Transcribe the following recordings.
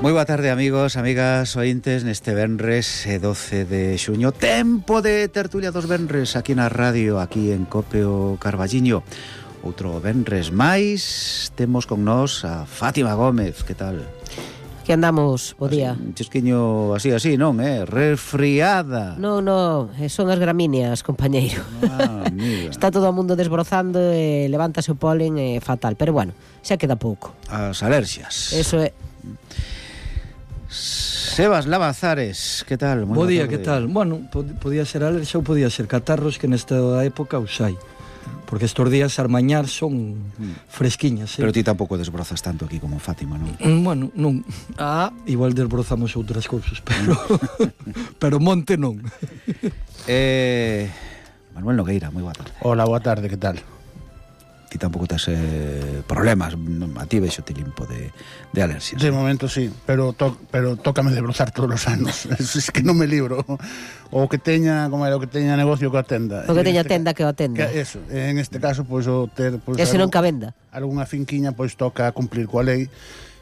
Moi boa tarde, amigos, amigas, ointes, neste venres 12 de xuño. Tempo de tertulia dos venres aquí na radio, aquí en Cope o Carballiño. Outro venres máis, temos con nós a Fátima Gómez, que tal? Que andamos, bo día. Un chisquiño así, non, resfriada. Non, son as gramíneas, compañeiro. Amiga. Está todo o mundo desbrozando e levántase o polen fatal, pero bueno, xa queda pouco. As alerxias. Eso é. Sebas Lavazares, que tal? Bo día, que tal? Bueno, podía ser alergia ou podía ser catarros, que nesta época os hai. Porque estos días armañar son fresquiñas, Pero ti tampouco desbrozas tanto aquí como Fátima, non? Bueno, non. Igual desbrozamos outras cousas, pero monte non. Manuel Nogueira, moi boa tarde. Hola, boa tarde, que tal? Ti tampouco tes problemas, a ti vexo ti limpo de alerxias. De momento sí, pero tócame desbrozar todos os anos. Es que non me libro. O que teña, como era, o que teña negocio que atenda. O que teña tenda que o atenda. Eso, en este caso, pois o ter ese non que venda. Algunha finquiña, pois toca cumplir coa lei.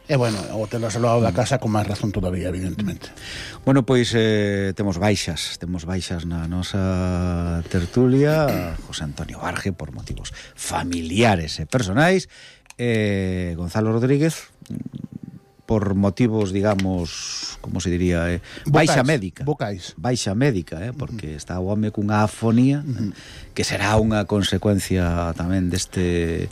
E bueno, o telas ao lado da casa con máis razón todavía, evidentemente. Bueno, pois temos baixas na nosa tertulia. José Antonio Barge, por motivos familiares e personais, Gonzalo Rodríguez por motivos, digamos, como se diría, baixa médica. Baixa médica, porque está o home cunha afonía, que será unha consecuencia tamén deste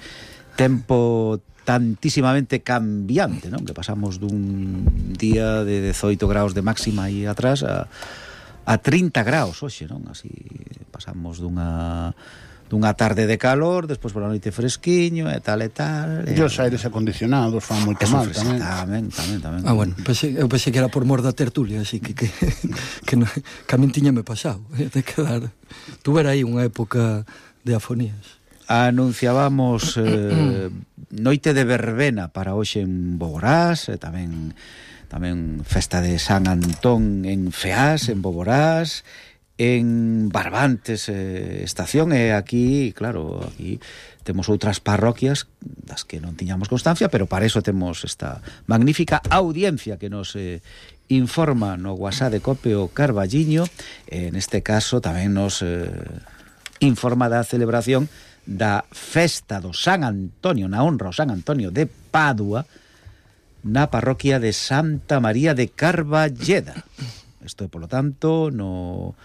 tempo tantísimamente cambiante, non? Que pasamos dun día de 18 graus de máxima aí atrás a 30 graus hoxe, non? Así pasamos dunha tarde de calor, despois pola noite fresquiño e tal. E os aires acondicionados fan moito mal tamén. Tamén. Bueno, eu pensei que era por mor da tertulia, así que a min tiñame pasado, de quedar. Tuve aí unha época de afonías. Anunciábamos noite de verbena para hoxe en Boborás, tamén festa de San Antón en Feás, en Boborás, en Barbantes estación, e aquí, claro, aquí temos outras parroquias das que non tiñamos constancia, pero para eso temos esta magnífica audiencia que nos informa no WhatsApp de Cope o Carballiño. Neste caso tamén nos informa da celebración da festa do San Antonio, na honra ao San Antonio de Padua, na parroquia de Santa María de Carballeda. Isto é, polo tanto, no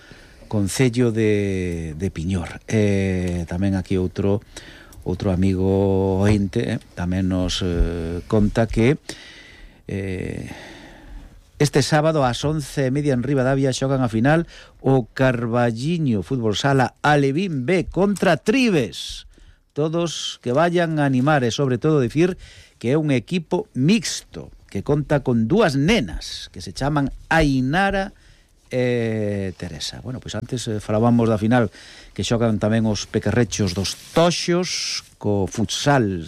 concello de Piñor. Tamén aquí outro amigo ointe tamén nos conta que este sábado ás 11:30 en Ribadavia xogan a final o Carballiño Fútbol Sala Alevín B contra Tribes. Todos que vayan a animar e, sobre todo, decir que é un equipo mixto que conta con dúas nenas que se chaman Ainara e Teresa. Bueno, pois antes falábamos da final que xogan tamén os pequerrechos dos Toxos co futsal,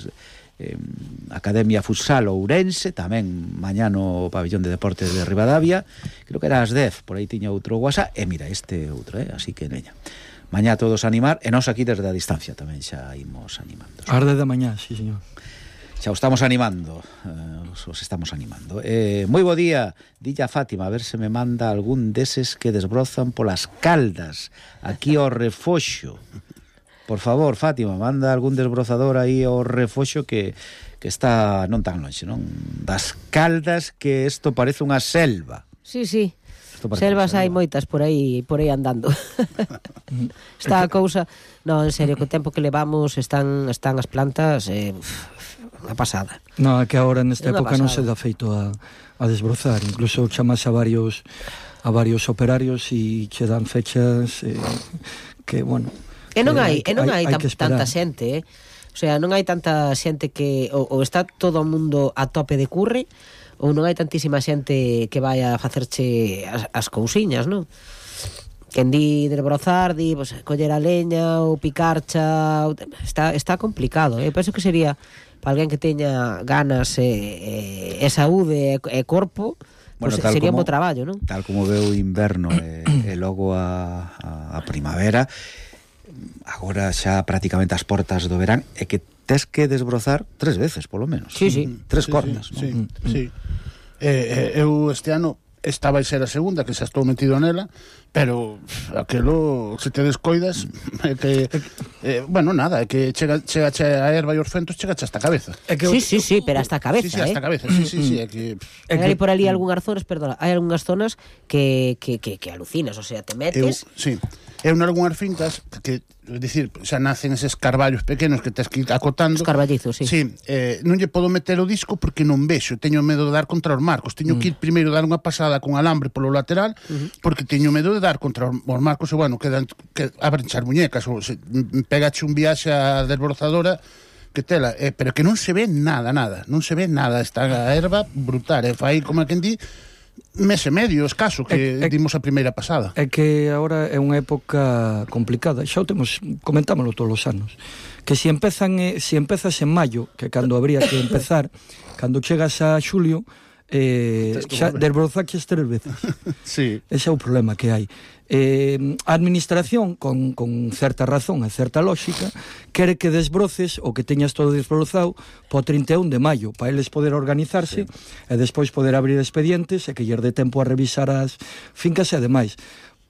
Academia Futsal Ourense, tamén mañá no pabellón de deportes de Ribadavia, creo que era ás 10, por aí tiña outro WhatsApp, e mira, este outro, así que neña. Mañá todos a animar, e nós aquí desde a distancia tamén xa imos animando. Ás 10 da mañá, sí, señor. Xa os estamos animando, moi bo día, dilla Fátima, a ver se me manda algún deses que desbrozan polas Caldas, aquí ao Refoxo. Por favor, Fátima, manda algún desbrozador aí ao Refoxo que está non tan longe, non? Das Caldas, que isto parece unha selva. Sí. Selvas hai moitas por aí andando. Está a cousa... Non, en serio, co tempo que levamos están as plantas unha pasada. Non, é que agora nesta época non se dá feito a desbrozar. Incluso chamas a varios operarios e che dan fechas que, bueno... E non hai tanta xente, O sea, non hai tanta xente que ou está todo o mundo a tope de curre, ou non hai tantísima xente que vai a facerche as cousiñas, non? Quen di desbrozar, di pues, coller a leña ou picarcha, está complicado. Eu penso que sería para alguén que teña ganas e saúde e corpo, bueno, pues sería un bo traballo, non? Tal como veo o inverno e logo a primavera, agora xa prácticamente as portas do verán, é que tes que desbrozar 3 veces, polo menos. Sí. 3 cordas, sí. Eu este ano esta vai ser a segunda, que xa estou metido nela, pero aquelo, se te descoidas, é que bueno, nada, é que chega a erva e os fentos, chega hasta a cabeza. Sí, pero hasta a cabeza, Sí, hasta a cabeza, sí, é que... Hai por ali algunhas zonas, perdona, hai algunhas zonas que alucinas, o sea, te metes... Eu nalgúnas fincas que, é dicir, xa nacen eses carballos pequenos que tens que ir acotando. Os carballizos, sí. Sí, non lle podo meter o disco porque non vexo, teño medo de dar contra os marcos. Teño que ir primeiro dar unha pasada con alambre polo lateral porque teño medo de dar contra os marcos e, bueno, que abren as muñecas ou se pegache un viaxe a desbrozadora que tela, pero que non se ve nada, non se ve nada, está a erva brutal, fai como a quen di mes e medio escaso que dimos a primeira pasada. É que agora é unha época complicada, xa o temos, comentámoslo todos os anos, que se empezas en maio, que cando habría que empezar, cando chegas a xulio, xa desbrozaches 3 veces. Sí. Ese é o problema que hai. A administración, con certa razón e certa lógica, quere que desbroces o que teñas todo desbrozado po 31 de maio, para eles poder organizarse e despois poder abrir expedientes e que lle dé tempo a revisar as fincas e demais.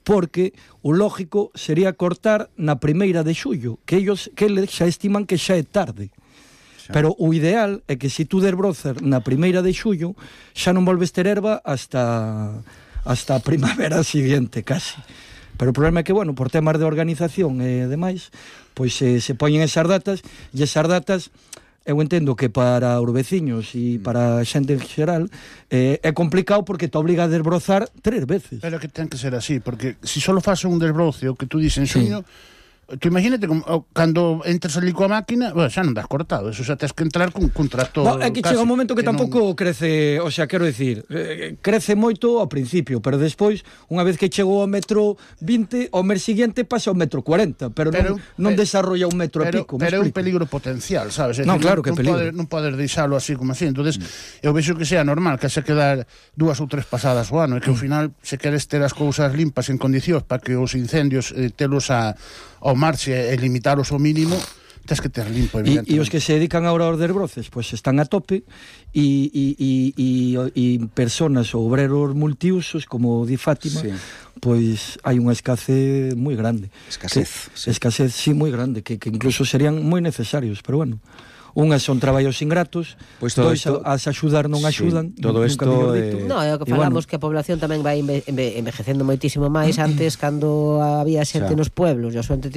Porque o lógico sería cortar na primeira de xullo, que eles xa estiman que xa é tarde. Pero o ideal é que se tú desbrozas na primeira de xullo xa non volves ter erva hasta a primavera siguiente, casi. Pero o problema é que, bueno, por temas de organización e demais, pois se poñen esas datas, e esas datas, eu entendo que para os veciños e para a xente en xeral é complicado porque te obliga a desbrozar 3 veces. Pero que ten que ser así, porque se só faz un desbroce, o que tú dices en xuño, tú imagínate cando entras ali coa máquina, bueno, xa non das cortado, eso xa tens que entrar con tractor. É que chega un momento que tampouco crece, o sea, quero dicir, crece moito ao principio, pero despois, unha vez que chegou ao metro 20, ao mes seguinte pasa ao metro 40, pero non desarrolla un metro e pico. Pero é un peligro potencial, sabes? Non, claro que é peligro. Non podes deixalo así como así, entonces eu vexo que sea normal que se quedar 2 ou 3 pasadas o ano, e que ao final se queres ter as cousas limpas en condicións para que os incendios telos ao marche e limitaros ao mínimo, tens que ter limpo, evidentemente. E os que se dedican agora aos desbroces, pois están a tope, e personas ou obreros multiusos, como di Fátima, pois hai unha escasez moi grande. Escasez, sí, moi grande, que incluso serían moi necesarios, pero bueno. Unhas son traballos ingratos, pois dois as axudar non axudan. Todo isto no, é o que falamos, que a población tamén vai envejecendo moitísimo máis. Antes, cando había xente nos pueblos e a xente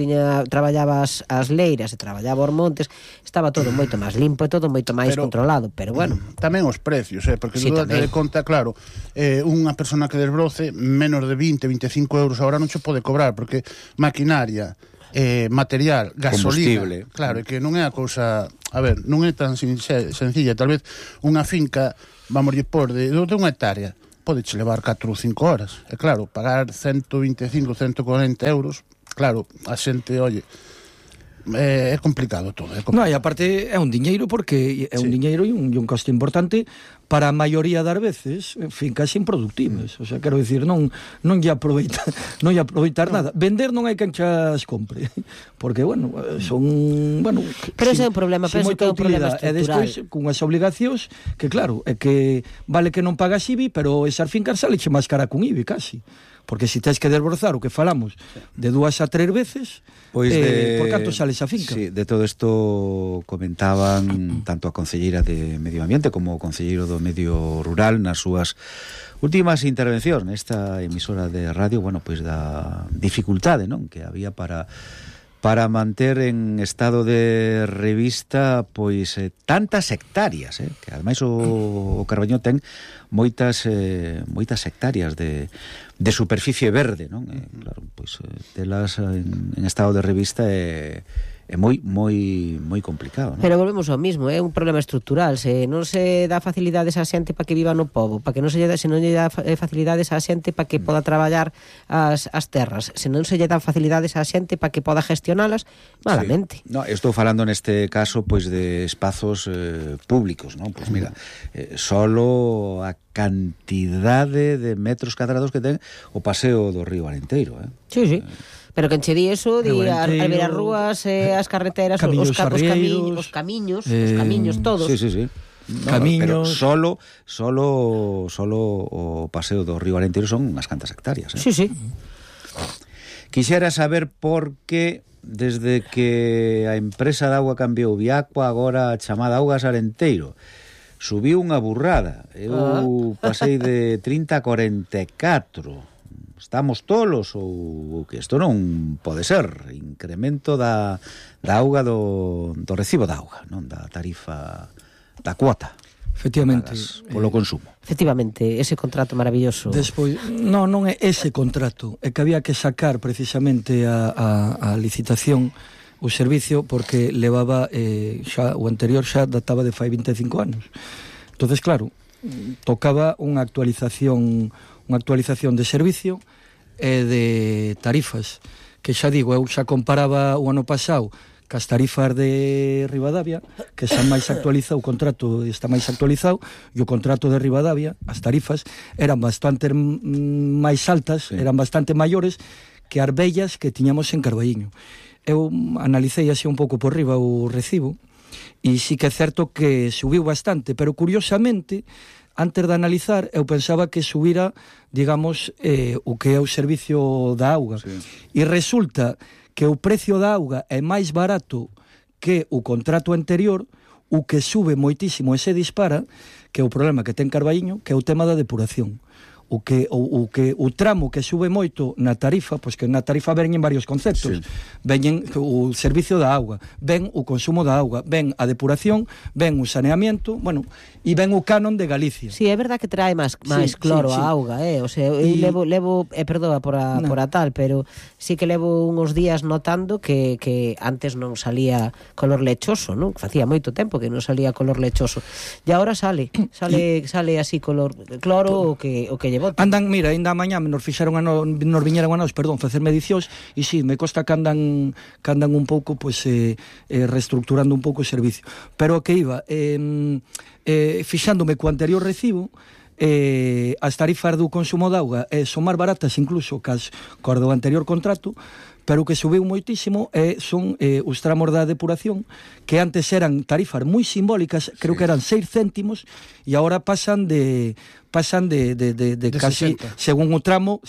traballaba as leiras e traballaba os montes, estaba todo moito máis limpo e todo moito máis controlado, pero bueno. Tamén os precios, porque tú date de conta, claro, unha persona que desbroce menos de 20-25 euros a hora non se pode cobrar, porque maquinaria, material, gasolina, claro, que non é a cousa, a ver, non é tan sencilla. Tal vez unha finca, vamos por de unha hectárea, podeche levar 4 ou 5 horas, e claro, pagar 125-140 euros, claro, a xente, oye, é complicado todo. Non, e aparte é un diñeiro, porque é un diñeiro e un coste importante para a maioría das veces fincas improductivas. O sea, quero dicir, non lle aproveitar nada. Vender non hai quen chas compre, porque, bueno, son, bueno, pero ese é un problema, penso que é un problema estrutural. E despois, cunhas obligacións, que claro, é que vale que non pagas IBI, pero esas fincas saleche máis cara cun IBI, casi. Porque se tens que desbrozar o que falamos de 2 a 3 veces, pois por canto sale esa finca? Sí, de todo isto comentaban tanto a concelleira de Medio Ambiente como o concelleiro do Medio Rural nas súas últimas intervencións nesta emisora de radio, bueno, pois da dificultade, non, que había para manter en estado de revista pois tantas hectáreas, que ademais o Carballiño ten moitas hectáreas de superficie verde, non? Claro, pois telas en estado de revista é moi complicado, non? Pero volvemos ao mismo, é un problema estrutural. Se non se dá facilidades á xente para que viva no pobo, para que non se non lle dá facilidades á xente para que poda traballar as terras, se non se lle dá facilidades á xente para que poda gestionalas, malamente. Sí. No, estou falando neste caso pois de espazos públicos, non? Pois mira, solo a cantidade de metros cadrados que ten o paseo do río Arenteiro, Sí. Pero que enche di eso, di as rúas, as carreteras, os camiños todos. Sí. camiños... Pero solo o paseo do Río Arenteiro son unhas cantas hectáreas. Sí, sí. Quixera saber por que desde que a empresa de auga cambiou Viacua, agora chamada Augas Arenteiro, subiu unha burrada. Eu pasei de 30 a 44. Estamos tolos ou que isto non pode ser? Incremento da auga do recibo da auga, non da tarifa da cuota. Efectivamente, polo consumo. Efectivamente, ese contrato maravilloso. Despois, non é ese contrato, é que había que sacar precisamente a licitación o servicio porque levaba xa o anterior xa databa de fai 25 anos. Entonces, claro, tocaba unha actualización de servicio e de tarifas, que xa digo, eu xa comparaba o ano pasado cas tarifas de Ribadavia, que xa máis actualizado, o contrato está máis actualizado, e o contrato de Ribadavia, as tarifas, eran bastante máis altas, eran bastante maiores que as vellas que tiñamos en Carballiño. Eu analicei así un pouco por riba o recibo, e sí que é certo que subiu bastante, pero curiosamente, antes de analizar, eu pensaba que subira, digamos, o que é o servicio da auga. Sí. E resulta que o precio da auga é máis barato que o contrato anterior, o que sube moitísimo e se dispara, que é o problema que ten Carballiño, que é o tema da depuración. O tramo que sube moito na tarifa, pois que na tarifa veñen varios conceptos. Sí. Veñen o servicio da auga, ven o consumo da auga, ven a depuración, ven o saneamiento, bueno, e ven o canon de Galicia. Sí, é verdad que trae máis cloro a auga, o sea, eu levo perdoa por a tal, pero sí que levo uns días notando que antes non salía color lechoso, non? Facía moito tempo que non salía color lechoso. E agora sale así color cloro o que andan, mira, ainda mañá nos viñeron a nós, facer medicións e si, me costa que andan un pouco reestructurando un pouco o servicio, pero o que iba fixándome co anterior recibo, as tarifas do consumo de auga son máis baratas incluso que do anterior contrato, pero o que subiu moitísimo son os tramos da depuración, que antes eran tarifas moi simbólicas, creo que eran 6 céntimos, e agora pasan de casi 60. según o tramo,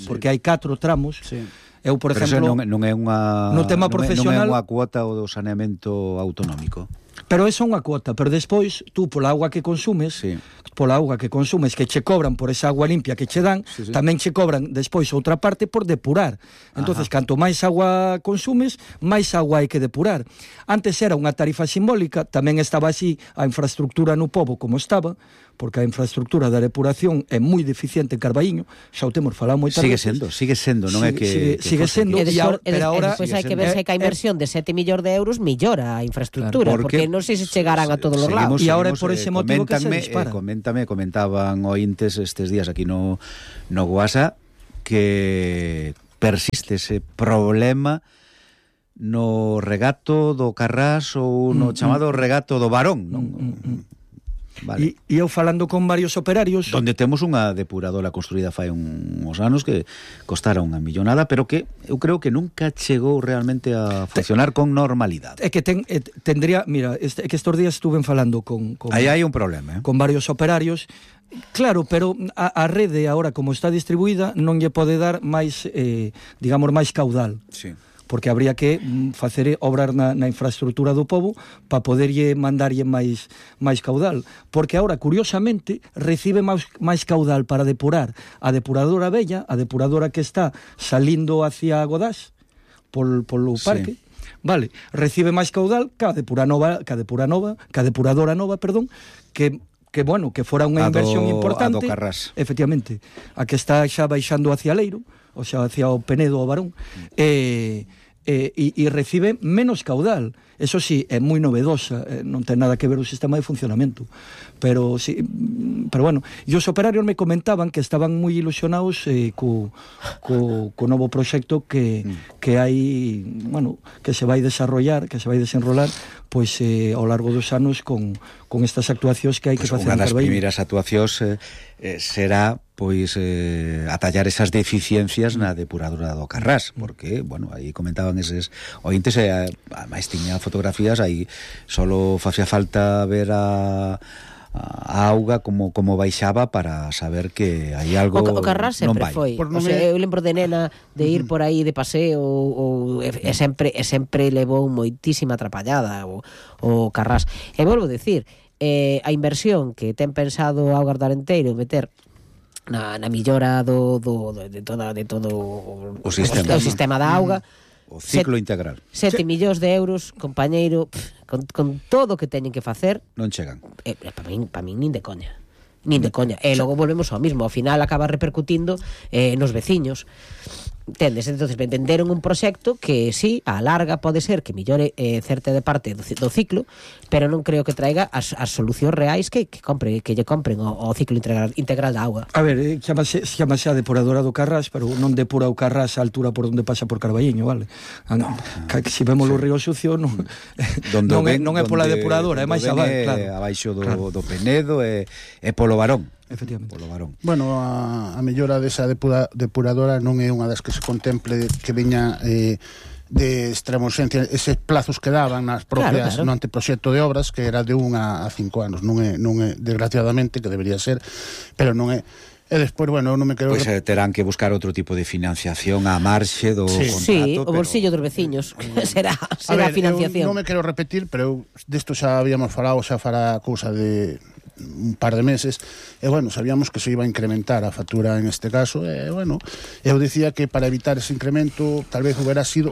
porque hai 4 tramos. Sí. Eu, por exemplo, non é unha no tema profesional, non é unha cuota do saneamento autonómico. Pero esa é unha cuota, pero despois tú pola auga que consumes, que che cobran por esa agua limpia que che dan, tamén che cobran despois outra parte por depurar. Entonces, canto máis agua consumes, máis agua hai que depurar. Antes era unha tarifa simbólica, tamén estaba así a infraestructura no pobo como estaba, porque a infraestructura da depuración é moi deficiente en Carballiño, xa o temos falado moitas veces. Sigue sendo, non é que sigue sendo, pero agora despois hai que ver se que a inversión de 7 millóns de euros millora a infraestructura, porque non sei se chegarán a todos os lados. E agora é por ese motivo que se dispara. Comentaban ointes estes días aquí no WhatsApp que persiste ese problema no regato do Carrás ou no chamado regato do Barón, non? Vale. E eu falando con varios operarios, donde temos unha depuradora construída fai uns anos que costara unha millonada, pero que eu creo que nunca chegou realmente a funcionar con normalidade. É que tendría, mira, que estes días estuve falando con aí hai un problema, con varios operarios. Claro, pero a rede agora como está distribuída non lle pode dar máis, digamos, máis caudal. Sí. Porque habría que facer obrar na infraestructura do pobo para poderlle mandarlle máis caudal, porque agora, curiosamente, recibe máis caudal para depurar a depuradora vella, a depuradora que está salindo hacia Godás polo parque. Vale, recibe máis caudal que a depuradora nova, que bueno, que fora unha inversión importante, a do Carrás. Efectivamente, a que está xa baixando hacia Leiro, o sea, hacia o Penedo o Barón, e recibe menos caudal. Eso sí, é moi novedosa, non ten nada que ver o sistema de funcionamento, pero bueno, e os operarios me comentaban que estaban moi ilusionados co novo proxecto que hai, bueno, que se vai desarrollar, que se vai desenrolar pois ao largo dos anos con estas actuacións que hai que facer en Carballiño. Unha das primeiras actuacións será pois atallar esas deficiencias na depuradora do Carrás, porque, bueno, aí comentaban eses ointes, máis tiña fotografías, aí solo facía falta ver a auga como baixaba para saber que hai algo o Carrás sempre non vai. Foi, o sea, eu lembro de nena de ir por aí de paseo e sempre levou moitísima atrapallada o Carrás. E volvo a decir, a inversión que ten pensado Augas do Arenteiro meter na millora de todo o sistema da auga, o ciclo integral. 7 millóns de euros, compañeiro, con todo o que teñen que facer, non chegan. Para min nin de coña. E logo volvemos ao mismo, ao final acaba repercutindo nos veciños. Entendes? Entonces venderon un proxecto que sí, a larga pode ser que millore certa de parte do ciclo, pero non creo que traiga as solucións reais que lle compren o ciclo integral da auga. A ver, chamase a depuradora do Carrás, pero non depura o Carrás a altura por onde pasa por Carballiño, vale? Se vemos o río sucio non é pola depuradora, é máis abaixo, claro. Abaixo do Penedo e polo Barón. Efectivamente. Polo Barón. Bueno, a mellora desa depuradora non é unha das que se contemple que veña de extrema urxencia, eses plazos que daban nas propias no anteproxecto de obras, que era de 1 a 5 anos, non é desgraciadamente, que debería ser, pero non é. E despois, bueno, non me quero... Pois terán que buscar outro tipo de financiación á marxe do contrato. Sí, o bolsillo dos veciños será financiación. Non me quero repetir, pero desto xa habíamos falado, xa fará cousa de un par de meses, e bueno, sabíamos que se iba a incrementar a factura en este caso, e bueno, eu dicía que para evitar ese incremento tal vez hubiera sido,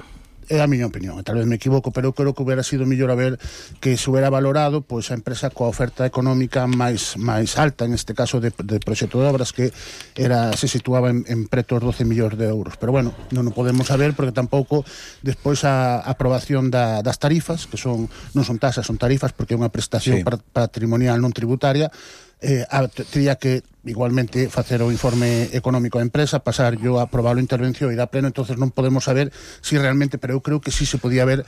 é a miña opinión, tal vez me equivoco, pero eu creo que hubiera sido mellor a ver que se hubiera valorado pois a empresa coa oferta económica máis alta, en este caso de proxecto de obras, que se situaba en preto os 12 millóns de euros, pero bueno, non o podemos saber porque tampouco despois a aprobación das tarifas, que non son tasas, son tarifas, porque é unha prestación patrimonial non tributaria, teria que igualmente facer o informe económico da empresa, pasar yo a aprobar a intervención e ir a pleno, entonces non podemos saber si realmente, pero eu creo que sí se podía haber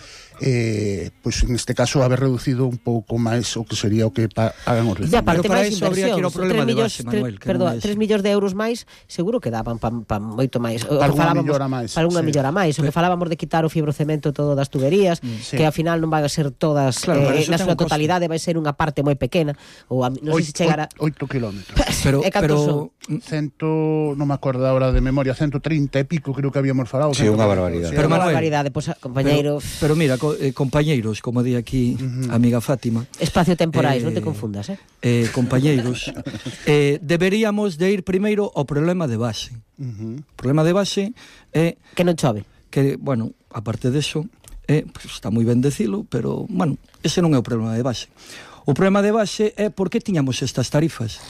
pois en este caso haber reducido un pouco máis o que sería o que pagan os vecinos. Pero para iso habría que ir ao problema de base, Manuel. 3 millóns de euros máis, seguro que daban pa moito máis. Para unha millora máis. Para unha millora máis. O que falábamos de quitar o fibrocemento todo das tuberías, que ao final non van a ser todas na súa totalidade, vai ser unha parte moi pequena, ou non sei se chegará 8 kilómetros. Pero non me acordo ahora de memoria, 130 e pico creo que habíamos falado. Sí, unha barbaridade. Pero unha barbaridade, pois, compañeiro. Pero mira, compañeiros, como di aquí a amiga Fátima. Espacio temporais, non te confundas, compañeiros, deberíamos de ir primeiro ao problema de base. O problema de base é que non chove. Que, bueno, aparte deso, pues, está moi ben decilo, pero, bueno, ese non é o problema de base. O problema de base é por que tiñamos estas tarifas.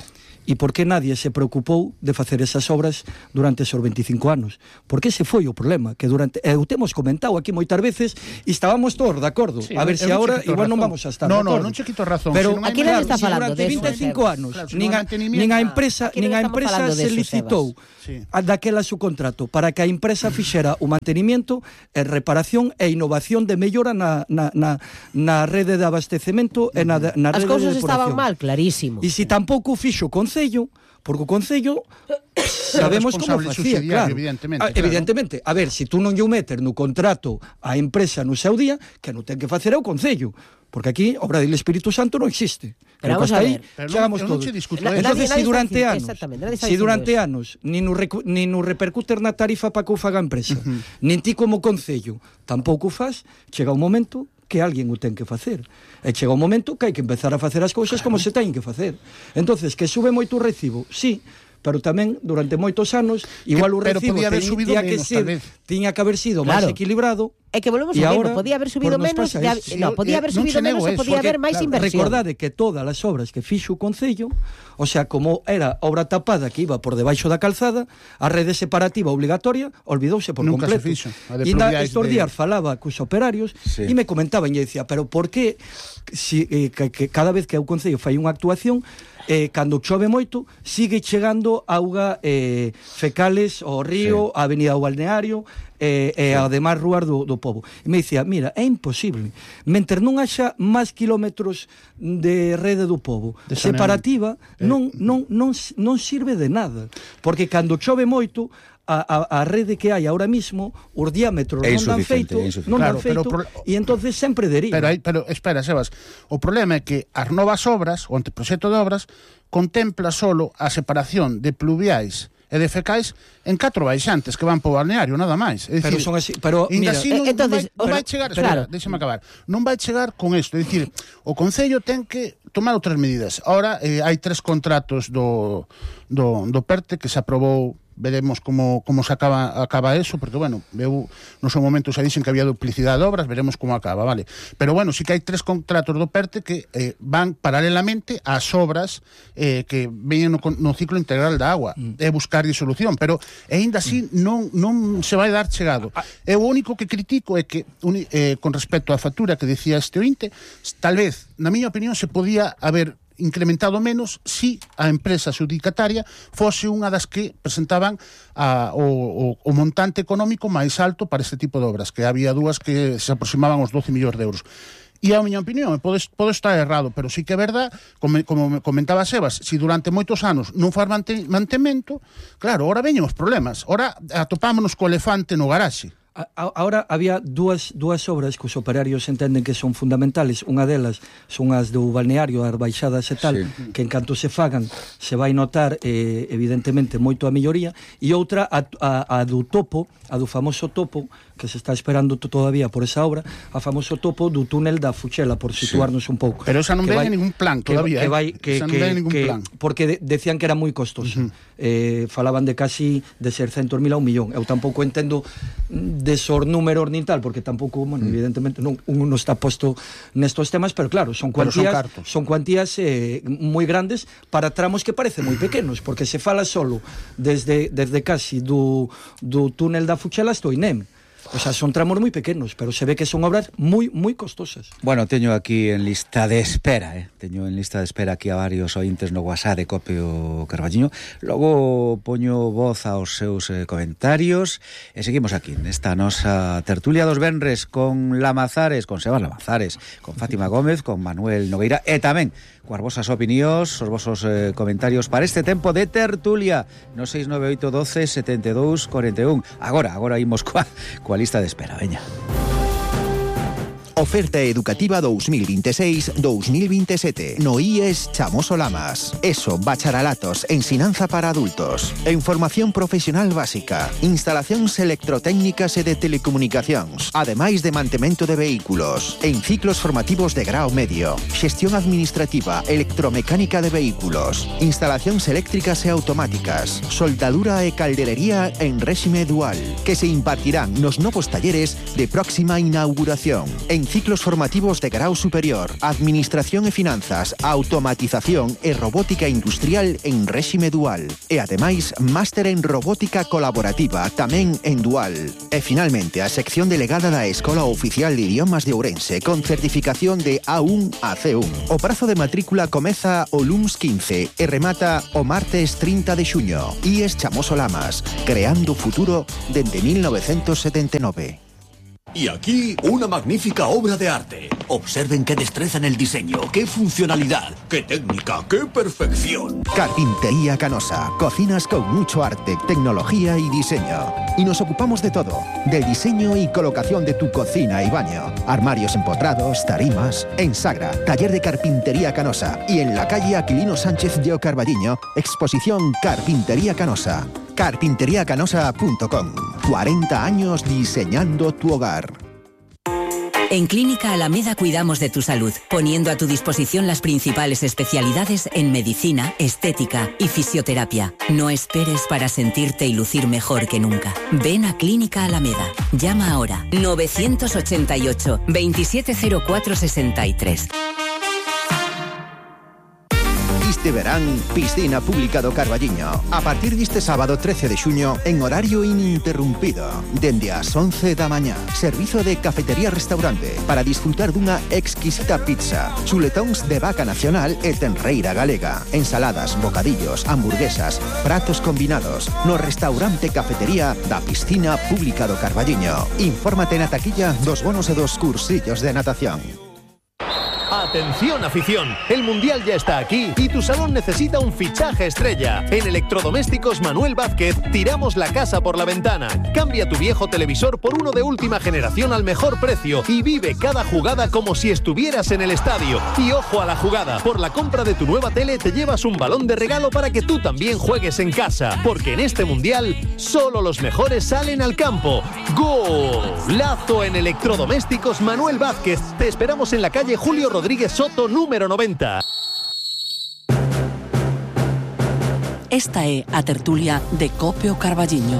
E por que nadie se preocupou de facer esas obras durante esos 25 anos? Porque ese foi o problema, que durante o temos comentado aquí moitas veces e estábamos todos de acordo. A ver se agora igual non vamos a estar de acordo. Non che quito razón. Pero aquí non está falando durante 25 anos nin a empresa se licitou daquela su contrato para que a empresa fixera o mantenimiento e reparación e innovación de mellora na rede de abastecemento e na rede de depuración. As cousas estaban mal, clarísimo. E se tampouco fixo o Concello, porque o Concello sabemos como facía, claro. Evidentemente, a ver, se tú non lle meter no contrato a empresa no seu día, que non ten que facer é o Concello, porque aquí obra do Espírito Santo non existe. Pero vamos a ver, chegamos todos. Entonces, se durante anos nin o repercuter na tarifa para que o faga a empresa, nin ti como Concello tampouco faz, chega un momento que alguén o ten que facer. E chega un momento que hai que empezar a facer as cousas como se teñen que facer. Entonces, que sube moito o recibo, sí, pero tamén durante moitos anos igual o recibo tiña que haber sido máis equilibrado. É que volvemos a ver, podía haber subido menos, podía haber subido menos e podía haber máis inversión. Recordade que todas as obras que fixo o Concello, o sea, como era obra tapada que iba por debaixo da calzada, a rede separativa obligatoria olvidouse por completo. E estos días falaba cos operarios e me comentaban e decía, pero por que que cada vez que o Concello fai unha actuación cando chove moito sigue chegando auga fecales ao río, a avenida ao balneario, e ademais rúas do pobo. E me dicía, mira, é imposible, mentre non haxa máis kilómetros de rede do pobo separativa, non sirve de nada, porque cando chove moito, a rede que hai ahora mismo, os diámetros non dan feito, e entonces sempre deriva. Pero espera, Sebas, o problema é que as novas obras, o anteproxecto de obras, contempla solo a separación de pluviais e de fecais en 4 baixantes que van po balneario, nada máis. É dicir, pero son así, pero mira, así non vai chegar, espera, déxame acabar. Non vai chegar con isto, é dicir, o Concello ten que tomar outras medidas. Ahora hai 3 contratos do PERTE que se aprobou. Veremos como se acaba eso, porque, bueno, eu no seu momento xa dixen que había duplicidade de obras, veremos como acaba, vale? Pero, bueno, sí que hai 3 contratos do PERTE que van paralelamente ás obras que veñen no ciclo integral da agua, é buscar solución, pero ainda así non se vai dar chegado. O único que critico é que, con respecto á factura que decía este ointe, tal vez, na miña opinión, se podía haber incrementado menos si a empresa adjudicataria fose unha das que presentaban o montante económico máis alto para este tipo de obras, que había 2 que se aproximaban aos 12 millóns de euros. E a miña opinión, podo estar errado, pero sí que é verdad, como comentaba Sebas, si durante moitos anos non faz mantemento, claro, ahora veñen os problemas, ahora atopámonos co elefante no garaxe. Ahora había dúas obras que os operarios entenden que son fundamentales. Unha delas son as do balneario, as baixadas e tal, que en canto se fagan se vai notar evidentemente moito a melloría, e outra a do topo, a do famoso topo, que se está esperando todavía por esa obra, a famoso topo do túnel da Fuchela, por situarnos un pouco. Pero esa non ven ningún plan todavía, esa non ven ningún plan. Porque decían que era moi costosa. Falaban de casi de 600.000 a 1 millón. Eu tampouco entendo desos números nin tal, porque tampouco, bueno, evidentemente non está posto nestos temas, pero claro, son cuantías moi grandes para tramos que parecen moi pequenos, porque se fala solo desde casi do túnel da Fuchela hasta o INEM. O sea, son tramos moi pequenos, pero se ve que son obras moi costosas. Bueno, teño aquí en lista de espera, teño en lista de espera aquí a varios ointes no WhatsApp de Copio Carballiño. Logo poño voz aos seus comentarios e seguimos aquí nesta nosa tertulia dos venres con Lamazares, con Sebas Lamazares, con Fátima Gómez, con Manuel Nogueira e tamén coas vosas opinións, os vosos comentarios para este tempo de tertulia no 698 12 72 41. Agora imos coa lista de espera, veña. Oferta educativa 2026-2027 no IES Chamoso Lamas. ESO, bacharelatos, ensinanza para adultos, en formación profesional básica, instalacións electrotécnicas e de telecomunicacións, ademais de mantemento de vehículos, en ciclos formativos de grao medio, xestión administrativa, electromecánica de vehículos, instalacións eléctricas e automáticas, soldadura e calderería en réxime dual, que se impartirán nos novos talleres de próxima inauguración, en ciclos formativos de grau superior, administración e finanzas, automatización e robótica industrial en réxime dual. E ademais, máster en robótica colaborativa tamén en dual. E finalmente, a sección delegada da Escola Oficial de Idiomas de Ourense con certificación de A1 a C1. O prazo de matrícula comeza o luns 15 e remata o martes 30 de xuño. IES Chamoso Lamas, creando futuro dende 1979. Y aquí, una magnífica obra de arte. Observen qué destreza en el diseño, qué funcionalidad, qué técnica, qué perfección. Carpintería Canosa. Cocinas con mucho arte, tecnología y diseño. Y nos ocupamos de todo. Del diseño y colocación de tu cocina y baño. Armarios empotrados, tarimas. En Sagra, taller de Carpintería Canosa. Y en la calle Aquilino Sánchez de Carballiño, exposición Carpintería Canosa. Carpinteriacanosa.com. 40 años diseñando tu hogar. En Clínica Alameda cuidamos de tu salud, poniendo a tu disposición las principales especialidades en medicina, estética y fisioterapia. No esperes para sentirte y lucir mejor que nunca. Ven a Clínica Alameda. Llama ahora 988 270463. Este verán, Piscina Pública do Carballiño. A partir deste sábado 13 de xuño, en horario ininterrumpido, dende as 11 da mañá. Servizo de cafetería-restaurante para disfrutar dunha exquisita pizza, chuletóns de vaca nacional e tenreira galega, ensaladas, bocadillos, hamburguesas, pratos combinados, no restaurante cafetería da Piscina Pública do Carballiño. Infórmate na taquilla dos bonos e dos cursillos de natación. Atención afición, el Mundial ya está aquí y tu salón necesita un fichaje estrella. En Electrodomésticos Manuel Vázquez tiramos la casa por la ventana. Cambia tu viejo televisor por uno de última generación al mejor precio y vive cada jugada como si estuvieras en el estadio. Y ojo a la jugada, por la compra de tu nueva tele te llevas un balón de regalo para que tú también juegues en casa. Porque en este Mundial solo los mejores salen al campo. ¡Golazo en Electrodomésticos Manuel Vázquez! Te esperamos en la calle Julio Rodríguez Soto, número 90. Esta é a tertulia de Cope o Carballiño.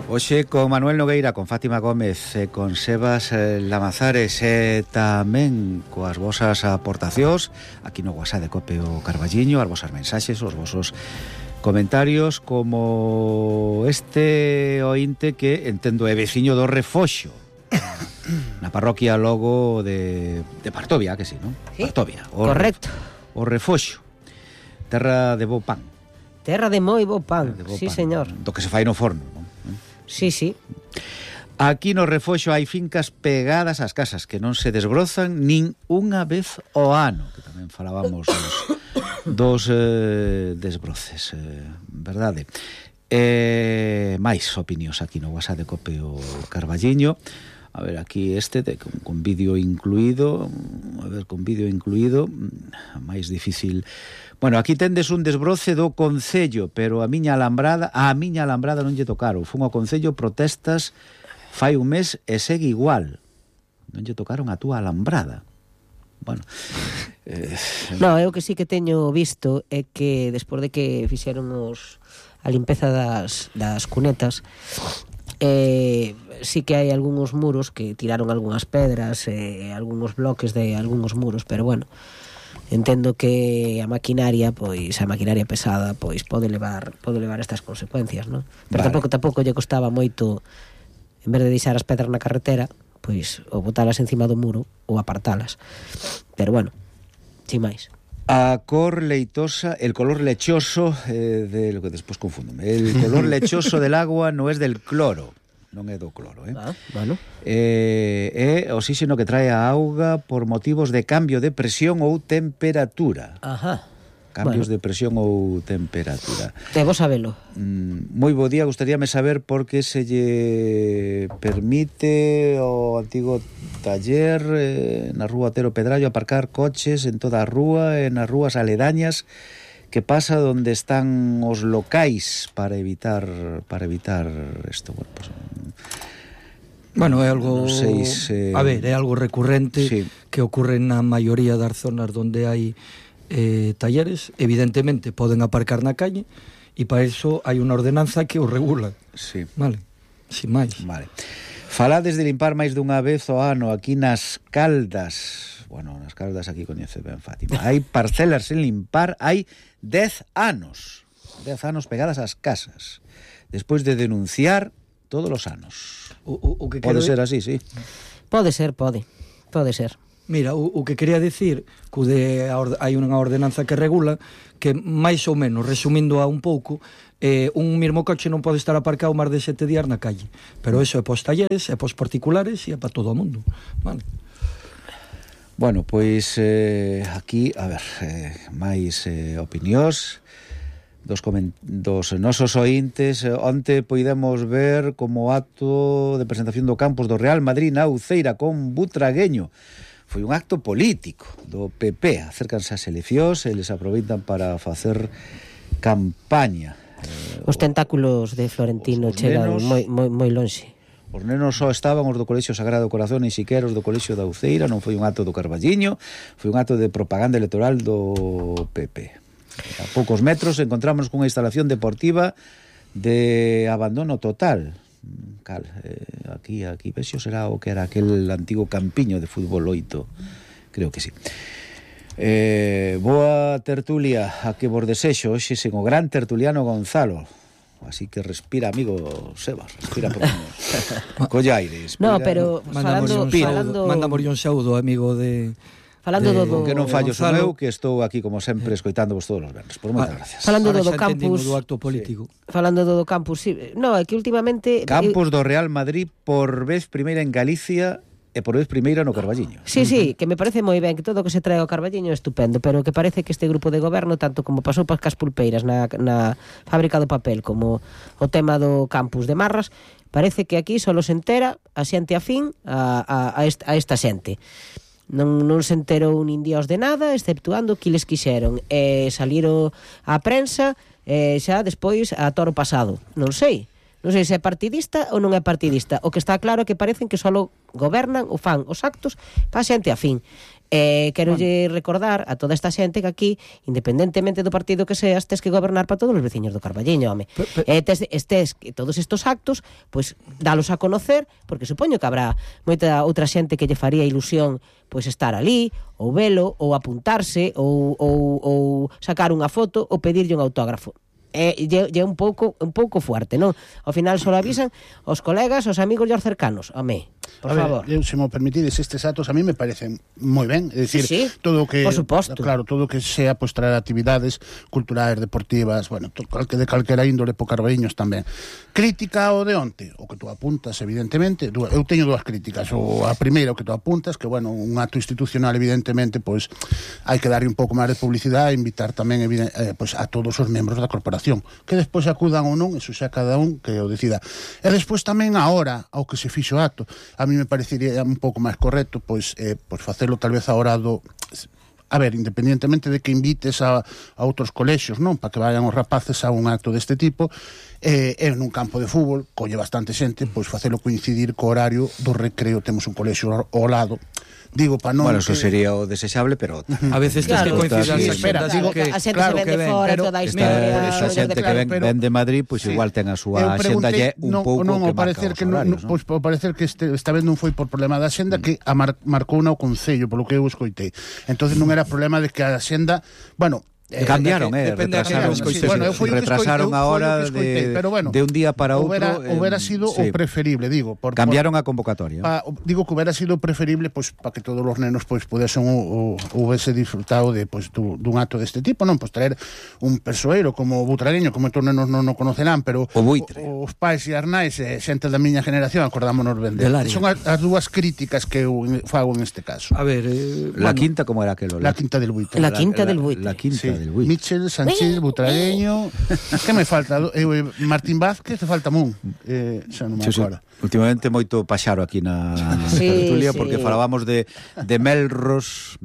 Hoxe con Manuel Nogueira, con Fátima Gómez e con Sebas Lamazares e tamén coas vosas aportacións aquí no WhatsApp de Cope o Carballiño, as vosas mensaxes, os vosos comentarios, como este ointe que entendo é veciño do Refoxo, na parroquia logo de Partovia, que sí, non? Sí, Partovia, correcto. O Refoxo, terra de bo pan. Terra de moi bo pan, sí, pan, señor. Do que se fai no forno, non? Sí, sí. Aquí no Refoxo hai fincas pegadas ás casas que non se desbrozan nin unha vez ao ano, que tamén falábamos dos desbroces, verdade? Mais opinións aquí no WhatsApp de Cope o Carballiño. A ver, aquí con vídeo incluído. A ver, con vídeo incluído, máis difícil. Bueno, aquí tendes un desbroce do Concello, pero a miña alambrada non lle tocaron. Fun ao Concello protestas fai un mes e segue igual. Non lle tocaron a túa alambrada. Bueno, no, eu que sí que teño visto é que despois de que fixeron a limpeza das cunetas, sí que hai algúns muros que tiraron algunhas pedras, algúns bloques de algúns muros, pero bueno, entendo que a maquinaria pesada pois pode levar estas consecuencias, non? Pero vale. tampouco lle costaba moito, en vez de deixar as pedras na carretera, pois ou botalas encima do muro ou apartalas. Pero bueno, sin máis. A cor leitosa, el color lechoso de lo que despois confúndome. El color lechoso del agua non é del cloro, non é do cloro, bueno. É oxígeno que trae a auga por motivos de cambio de presión ou temperatura. Ajá. Cambios de presión ou temperatura. Debo sabelo. Moi bo día, gustaríame saber por que se lle permite ao antigo taller na rúa Otero Pedrallo aparcar coches en toda a rúa e nas rúas aledañas. Que pasa donde están os locais para evitar isto? Bueno, pues, bueno, é algo, non sei a ver, é algo recurrente, sí, que ocorre na maioría das zonas onde hai talleres. Evidentemente poden aparcar na calle e para iso hai unha ordenanza que o regula. Sí. Vale, sin máis. Vale. Falades de limpar máis dunha vez ao ano aquí nas Caldas. Bueno, nas Caldas aquí coñece ben Fátima. Hai parcelas sen limpar, hai 10 anos pegadas ás casas, despois de denunciar todos os anos. O que pode ser así, sí. Pode ser. Mira, o que quería dicir que hai unha ordenanza que regula que máis ou menos, resumindo a un pouco, un mesmo coche non pode estar aparcado máis de 7 días na calle, pero eso é pos talleres, é pos particulares e é para todo o mundo, vale? Bueno, pois aquí, a ver, máis opinións dos nosos ointes. Onte poidemos ver como acto de presentación do campus do Real Madrid na Uceira con Butragueño. Foi un acto político do PP. Acércanse as eleccións e les aproveitan para facer campaña. Os tentáculos de Florentino chegan moi lonxe. Os nenos só estaban os do Colexio Sagrado Corazón e siquera os do Colexio da Uceira. Non foi un acto do Carballiño, foi un acto de propaganda electoral do PP. A poucos metros encontramos cunha instalación deportiva de abandono total. Aquí vexo será o que era aquel antigo campiño de fútbol 8, creo que sí. Boa tertulia a que vos desexo hoxe sen o gran tertuliano Gonzalo. Así que respira, amigo Sebas, respira por collaires. No, pero falando mandamos un saúdo, amigo de... Falando do que non fallo son eu, que estou aquí como sempre escoitándovos todos os venres. Por moitas gracias. Falando do campus, do acto político. Sí. Falando do campus, sí. No, é que últimamente campus do Real Madrid por vez primeira en Galicia e por vez primeira no Carballiño. Sí, que me parece moi ben que todo o que se trae ao Carballiño é estupendo, pero que parece que este grupo de goberno, tanto como pasou para as pulpeiras na fábrica do papel, como o tema do campus de Marras, parece que aquí só se entera a xente afín a esta xente. Non se enterou nin dios de nada, exceptuando que les quixeron salir á prensa xa despois a toro pasado. Non sei se é partidista ou non é partidista. O que está claro é que parecen que só gobernan ou fan os actos para a xente afín. Quero recordar a toda esta xente que aquí, independentemente do partido que seas, tes que gobernar para todos os veciños do Carballiño, home. Tes todos estos actos, pois dalos a conocer, porque supoño que habrá moita outra xente que lle faría ilusión pois estar ali, ou velo, ou apuntarse, ou sacar unha foto, ou pedirlle un autógrafo. É un pouco fuerte, non? Ao final só avisan os colegas, os amigos e os cercanos. Home, por favor. Se me permitides, estes actos a mí me parecen moi ben, é dicir, sí, todo o que, por suposto, claro, todo o que sea pois traer actividades culturais, deportivas, bueno, de calquera índole po Carballiños tamén. Crítica ao de onte, o que tú apuntas, evidentemente, eu teño dúas críticas. A primeira, o que tú apuntas, que, bueno, un acto institucional, evidentemente, pois hai que darlle un pouco máis de publicidade e invitar tamén pois a todos os membros da corporación, que despois acudan ou non, eso xa cada un que o decida. E despois tamén a hora ao que se fixo o acto, a mí me parecería un pouco máis correcto pois facelo tal vez a hora do... A ver, independientemente de que invites a outros colexios, non, para que vayan os rapaces a un acto deste tipo, en un campo de fútbol, colle bastante xente, pois facelo coincidir co horario do recreo, temos un colexio ao lado. Digo, para non... Bueno, eso sería o desexable, pero... A veces tens que coincidir as xente se ven de fora, toda a historia... Esta xente que ven de Madrid, pois igual ten a súa xenda lle un pouco que marca os horarios, non? Pois parecer que esta vez non foi por problema da xenda, que marcou o Concello, polo que eu escoitei. Entonces non era problema de que a xenda... Bueno... Cambiaron, retrasaron a hora de un día para outro. Hubiera sido o preferible, digo. Cambiaron a convocatoria. Digo que hubiera sido preferible pues, para que todos os nenos pues, pudesen hubiese disfrutado de pues, dun acto deste tipo, non? Pues traer un persoeiro como o butragueño, como estos nenos non o conocerán, pero os pais e as nais xente da miña generación acordámonos ben de. Son as dúas críticas que eu fago en este caso. A ver, la quinta, como era aquelo? La quinta del Buitre. La quinta del Buitre. La quinta. Michel, Sánchez, Butragueño. Que me falta? Martín Vázquez, te falta Mun. Xa non me acordo. Últimamente moito paxaro aquí na tertulia, porque falábamos de melros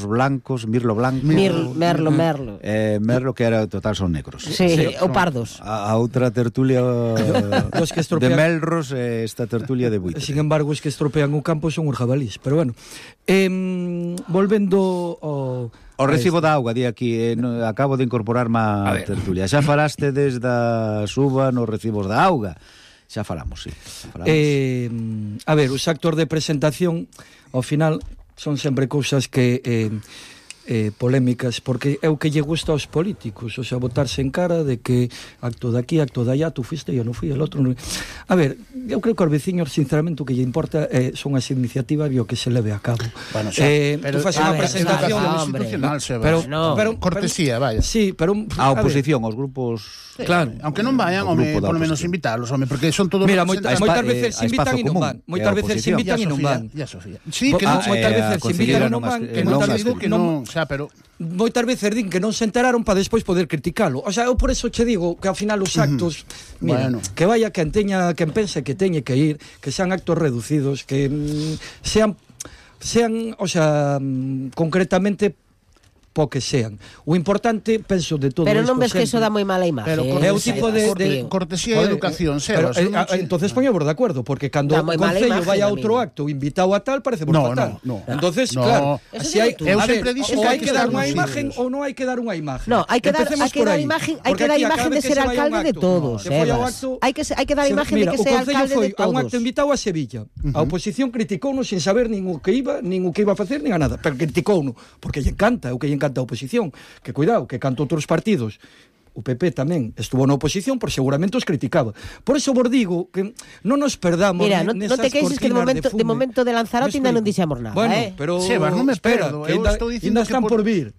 blancos, mirlo blanco. Merlo que era total son negros. Sí, ou pardos. A outra tertulia de melros, esta tertulia de buitre. Sin embargo, os que estropean o campo son os jabalís. Pero bueno, volvendo ao... O recibo da auga, di aquí, acabo de incorporarme a tertulia. Xa falaste desde a suba nos recibos da auga. Xa falamos, sí. A ver, os actos de presentación, ao final, son sempre cousas que... polémicas, porque é o que lle gusta aos políticos, o sea, botarse en cara de que acto de aquí, acto de allá, tú fuiste, eu non fui, el outro non... A ver, eu creo que aos veciños, sinceramente, o que lle importa son as iniciativas e o que se leve a cabo. Bueno, tú faz unha presentación institucional, pero cortesía, vaya. Sí, pero a oposición, aos grupos... Claro. Aunque non vayan, por lo menos invitarlos, porque son todos... Mira, moitas veces se invitan e non van. Moitas veces se invitan e non van. Sí, que moitas veces se invitan e non van, que non pero moitas veces din que non se enteraron para despois poder criticalo. O sea, eu por eso che digo que ao final os actos, mira, que vaya quen pense que teñe que ir, que sean actos reducidos, que sean, o sea, concretamente po que sean. O importante, penso, de todo isto... Pero non ves que eso dá moi mala imagen. É o tipo de cortesía e educación, Sebas. Entonces poñemos de acordo, porque cando o Concello vai a outro acto invitado a tal, parece fatal. Entonces, claro, así hai que dar unha imagen ou non hai que dar unha imagen. No, hai que dar imagen de ser alcalde de todos, Sebas. Hai que dar imagen de que sea alcalde de todos. A un acto invitado a Sevilla. A oposición criticouno sin saber nin o que iba a facer, nin a nada, pero criticouno, porque lle encanta, o que lle encanta a oposición, que cuidado, que canto outros partidos, o PP tamén estuvo na oposición, por seguramente os criticaba. Por eso vos digo que non nos perdamos. Mira, non te queixes que de momento de Lanzarote ainda non dixemos nada, bueno, pero Sebas, non me perdo. Eu estou dicindo que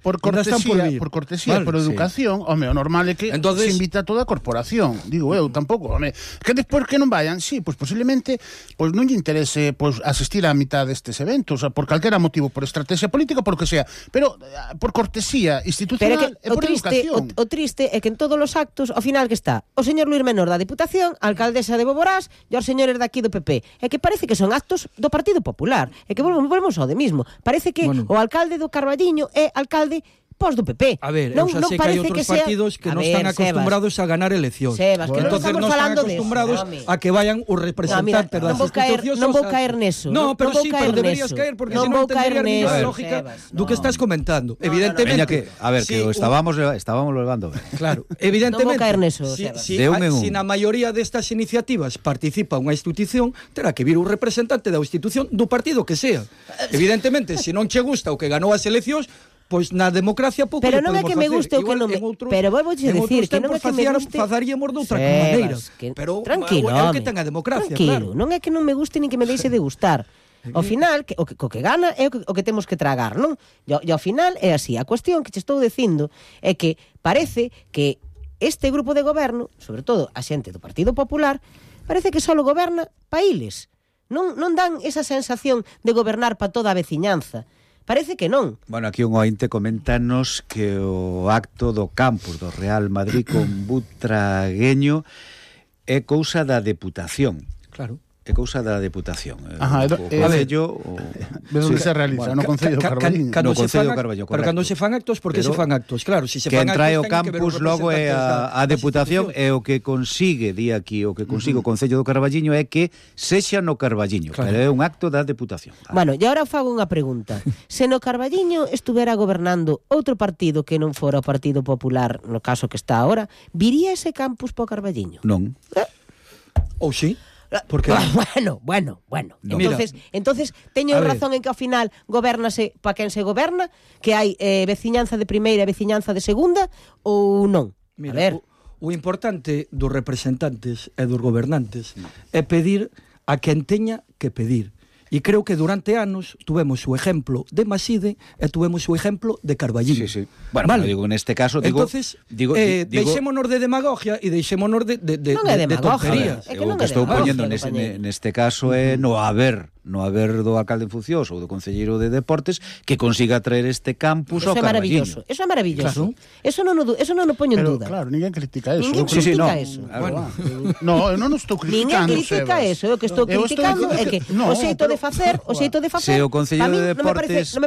por cortesía, por educación, home, o normal é que se invita a toda a corporación. Digo eu, tampouco, home, que despois que non vayan, sí, pois posiblemente pois non lle interese pois asistir á mitad destes eventos, por calquera motivo, por estrategia política, por que sea, pero por cortesía institucional e por educación. O triste é que en todos os actos, ao final que está o señor Luís Menor da Diputación, a alcaldesa de Boborás e os señores daqui do PP. É que parece que son actos do Partido Popular. É que volvemos ao de mismo. Parece que o alcalde do Carballiño é alcalde pos do PP. A ver, non sei que hai outros partidos que non están acostumbrados a ganar eleccións. Sebas, que non estamos falando de acostumbrados a que vayan os representantes das institucións. Non vou caer neso. No, pero sí, pero deberías caer porque se non entendería a lógica do que estás comentando. Evidentemente, a ver, que estábamos levando ben. Claro, evidentemente. Non vou caer neso, Sebas. Si na maioría destas iniciativas participa unha institución, terá que vir un representante da institución do partido que sea. Evidentemente, se non che gusta o que ganou as eleccións, pois na democracia pouco pero non é que me guste o que non me... Pero vou dicir que non é que me guste... Fazaríamos de outra maneira. Pero tranquilo, é o que ten a democracia, claro. Non é que non me guste nin que me deixe de gustar. Ao final, o que gana é o que temos que tragar, non? E ao final é así. A cuestión que te estou dicindo é que parece que este grupo de goberno, sobre todo a xente do Partido Popular, parece que só goberna pa iles. Non dan esa sensación de gobernar pa toda a veciñanza. Parece que non. Bueno, aquí un ointe coméntanos que o acto do campus do Real Madrid con Butragueño é cousa da Deputación. Claro. É cousa da Deputación. Ajá, onde se realiza? No Concello do Carballiño. No Concello do Carballiño, pero cando se fan actos, porque se fan actos? Claro, se fan actos, que entra o campus logo é a Deputación, e o que consigue, di aquí, o que consigue o Concello do Carballiño é que sexa no Carballiño, pero é un acto da Deputación. Bueno, e agora fago unha pregunta. Se no Carballiño estuvera gobernando outro partido que non fora o Partido Popular, no caso que está ahora, viría ese campus po Carballiño? Non. Ou sí? Porque bueno. No. Entonces teño razón en que ao final gobernase pa quen se goberna, que hai veciñanza de primeira e veciñanza de segunda, ou non? Mira, a ver, o importante dos representantes e dos gobernantes é pedir a quen teña que pedir. E creo que durante anos tuvemos o exemplo de Maside e tuvemos o exemplo de Carballiño. Sí. Bueno, vale. Digo, neste caso, entonces, deixémonos de demagogia e deixémonos de tonterías. O que estou poñendo neste caso é no haber do alcalde en funcións ou do concelleiro de deportes que consiga traer este campus ao Carballiño. Eso é maravilloso. Eso non o poño en duda. Claro, ninguén critica eso. Ninguén critica eso. No, eu non estou criticando. Ninguén critica eso. O que estou criticando é que o xeito de facer, se o concelleiro de deportes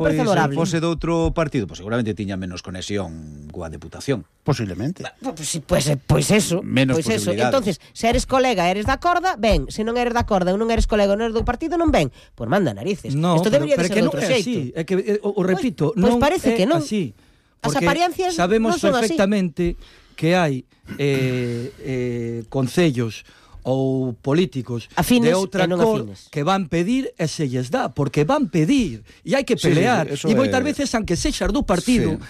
fose de outro partido, pois seguramente tiña menos conexión coa Deputación. Posiblemente. Pois eso. Menos posibilidades. Entonces, se eres colega, eres da corda, ben. Se non eres da corda ou non eres colega ou non eres do partido, non ben. Pois manda narices. No, isto debería de ser de outro xeito. É que, o repito, non parece que non. Así. As apariencias sabemos non son perfectamente que hai concellos ou políticos afines de outra cor que van pedir e se lles dá, porque van pedir e hai que pelear, e moitas veces aunque sexas do partido,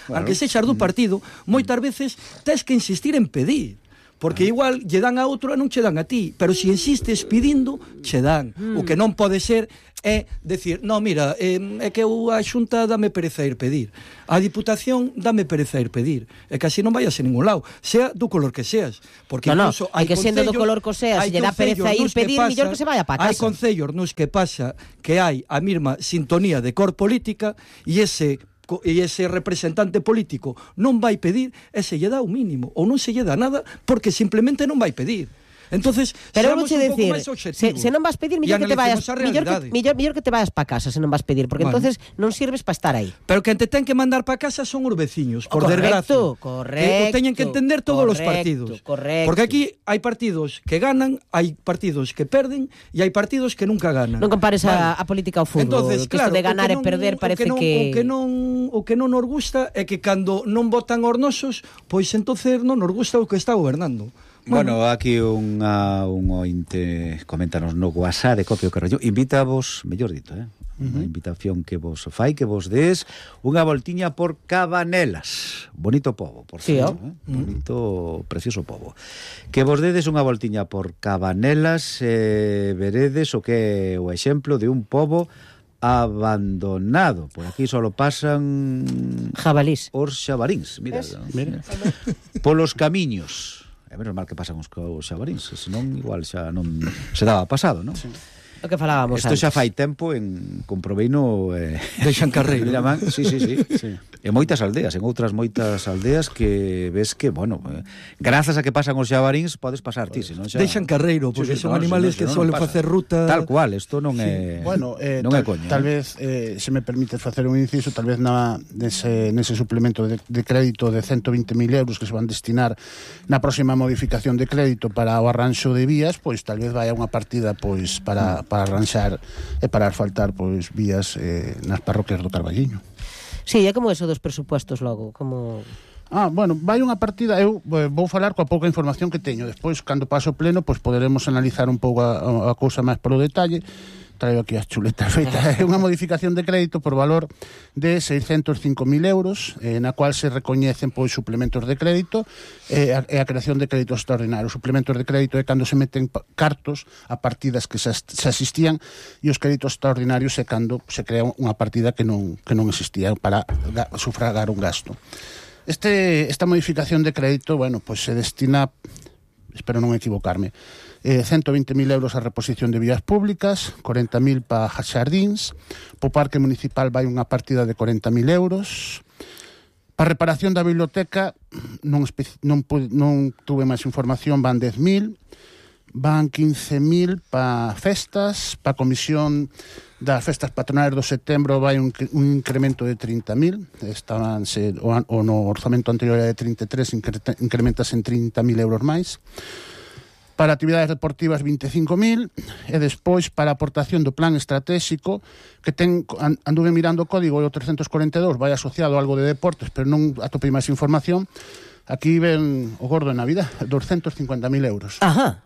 moitas veces tes que insistir en pedir, porque igual lle dan a outro e non che dan a ti, pero se insistes pedindo, che dan. O que non pode ser é decir, no, mira, é que a Xunta dame pereza ir pedir, a Diputación dame pereza ir pedir, é que así non vayas a ningún lado, sea do color que seas, porque incluso hai que sendo do color que seas, se lle dá pereza ir pedir, mellor que se vaya pa casa. Hai concellos nos que pasa que hai a mesma sintonía de cor política e ese representante político non vai pedir e se lle dá o mínimo ou non se lle dá nada porque simplemente non vai pedir. Entonces, pero vou che decir, se non vas pedir, mellor que te vayas para casa, se non vas pedir, porque entonces non sirves para estar aí. Pero que te ten que mandar para casa son os veciños, por desgracia. Correcto. Que teñen que entender todos os partidos. Correcto. Porque aquí hai partidos que ganan, hai partidos que perden e hai partidos que nunca ganan. Non compares a política ao fútbol. Entonces, claro, de ganar e perder parece que... O que non nos gusta é que cando non votan os nosos, pois entonces non nos gusta o que está gobernando. Bueno, aquí un ointe coméntanos no WhatsApp de Copio Carballiño. Invítavos, mellor dito, unha invitación que vos fai, que vos des unha voltiña por Cabanelas. Bonito pobo, por cierto, bonito, precioso pobo. Que vos dedes unha voltiña por Cabanelas, veredes o que é o exemplo de un pobo abandonado. Por aquí solo pasan jabalís. Os xabaríns, mira. Polos camiños. É menos mal que pasan os xabaríns, senón igual xa non se daba pasado, non? Sí. O que falábamos antes. Isto xa fai tempo comproveino de Xancarreiro. Sí. En moitas aldeas, en outras moitas aldeas que ves que, bueno, grazas a que pasan os xabaríns podes pasar ti, senón xa... De Xancarreiro, porque son animales que suelen facer ruta... Tal cual, isto non é... Bueno, non é coña. Tal vez, se me permites facer un inciso, tal vez nese suplemento de crédito de 120.000 euros que se van destinar na próxima modificación de crédito para o arranxo de vías, pois tal vez vai a unha partida pois para arranxar e para asfaltar pois vías nas parroquias do Carballiño. Sí, é como eso dos presupuestos logo, como... Bueno, vai unha partida, eu vou falar coa pouca información que teño, despois, cando paso o pleno, pois poderemos analizar un pouco a cousa máis polo detalle. Traigo aquí as chuletas feitas. É unha modificación de crédito por valor de 605.000 euros, na cual se recoñecen pois suplementos de crédito e a creación de créditos extraordinarios. Suplementos de crédito é cando se meten cartos a partidas que se asistían, e os créditos extraordinarios é cando se crea unha partida que non existía para sufragar un gasto. Esta modificación de crédito, bueno, pois se destina, espero non equivocarme, 120.000 euros a reposición de vías públicas, 40.000 para xardíns, po Parque Municipal vai unha partida de 40.000 euros, para reparación da biblioteca non tuve máis información, van 10.000, van 15.000 para festas, para comisión das festas patronales do setembro vai un incremento de 30.000, o no orzamento anterior era de 33, incrementas en 30.000 euros máis. Para actividades deportivas 25.000 e despois para a aportación do plan estratégico que anduve mirando o código e o 342 vai asociado a algo de deportes, pero non atopei máis información. Aquí ven o gordo en Navidad, 250.000 euros. Ajá.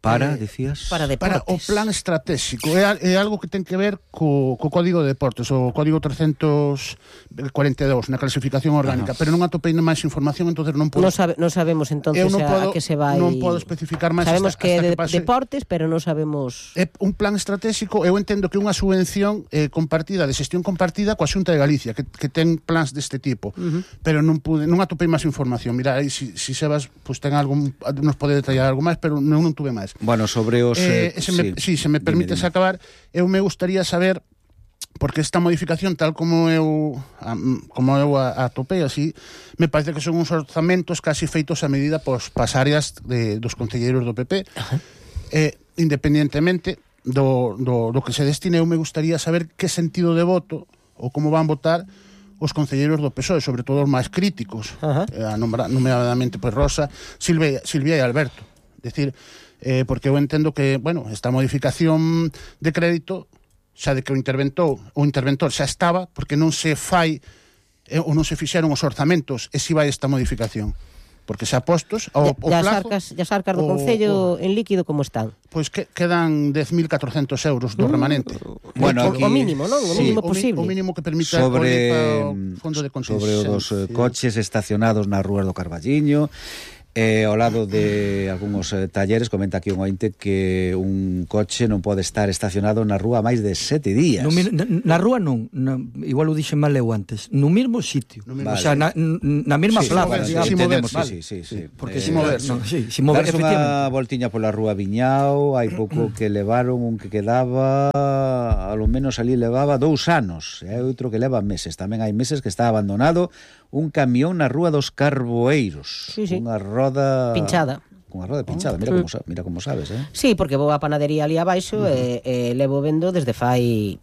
Decías? Para deportes. Para o plan estratégico. É algo que ten que ver co código de deportes, o código 342 na clasificación orgánica, pero non atopei máis información, entonces non podo... Non sabemos entonces a que se vai... Non podo especificar máis. Sabemos que é de deportes, pero non sabemos... É un plan estratégico, eu entendo que é unha subvención compartida, de xestión compartida coa Xunta de Galicia, que ten plans deste tipo, pero non atopei máis información. Mira, aí, si Sebas ten algo, nos pode detallar algo máis, pero non tuve máis. Bueno, sobre os... se me permites acabar, eu me gustaría saber, porque esta modificación, tal como eu atopei así, me parece que son uns orzamentos casi feitos a medida para as áreas dos concelleiros do PP. Independientemente do que se destine, eu me gustaría saber que sentido de voto ou como van votar os concelleiros do PSOE, sobre todo os máis críticos, nomeadamente pois Rosa, Silvia e Alberto. Decir, porque eu entendo que, bueno, esta modificación de crédito, xa de que o interventor xa estaba, porque non se fai ou non se fixeron os orzamentos, e si vai esta modificación. Porque xa postos o plazo... As arcas do Concello en líquido como están? Pois que quedan 10.400 euros do remanente. Bueno, o mínimo, non? O mínimo posible. O mínimo que permita o fondo de contingencia. Sobre os coches estacionados nas rúas do Carballiño, ao lado de algúns talleres, comenta aquí un ointe que un coche non pode estar estacionado na rúa máis de 7 días. Na rúa non, igual o dixen mal eu antes, no mesmo sitio, o sea, na mesma plaza. Porque si moverse. Darse unha voltiña pola rúa Viñao, hai pouco que levaron un que quedaba, a lo menos ali levaba 2 anos, e hai outro que leva meses, tamén hai meses que está abandonado un camión na rúa dos Carboeiros, unha roda pinchada. cunha roda pinchada, mira como sabes, Sí, porque vou á panadería ali abaixo e levo vendo desde fai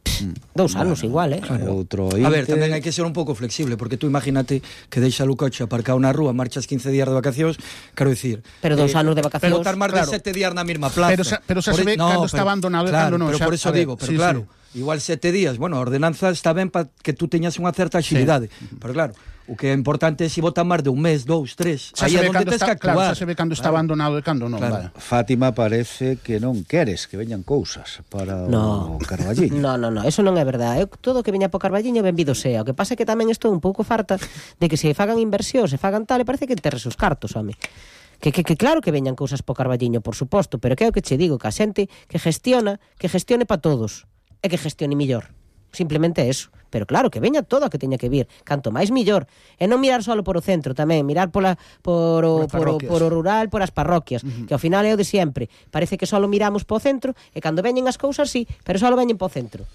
2 anos igual, Outro A ver, tamén hai que ser un pouco flexible, porque tú imagínate que deixa o coche aparcado na rúa, marchas 15 días de vacacións, quero dicir, pero 2 anos de vacacións, botar máis de 7 días na mesma plaza. Pero xa se ve cando está abandonado e cando non. Pero por eso digo, pero claro, igual 7 días, bueno, a ordenanza está ben para que tú teñas unha certa axilidade, pero claro, o que é importante é se botan máis de un mes, 2, 3, aí é onde tens que actuar. Claro, xa se ve cando está abandonado e cando non. Fátima parece que non queres que veñan cousas para o Carballiño. No, eso non é verdade. Todo o que veña po Carballiño benvido sea. O que pasa é que tamén estou un pouco farta de que se fagan inversións, se fagan tal, e parece que enterres os cartos, home. Que claro que veñan cousas po Carballiño, por suposto, pero que é o que che digo, que a xente que gestione para todos, e que gestione millor. Simplemente eso. Pero claro, que veña todo o que teña que vir, canto máis millor, e non mirar só por o centro tamén, mirar por o rural, por as parroquias, que ao final é o de sempre. Parece que só miramos po centro e cando veñen as cousas sí, pero só veñen po centro.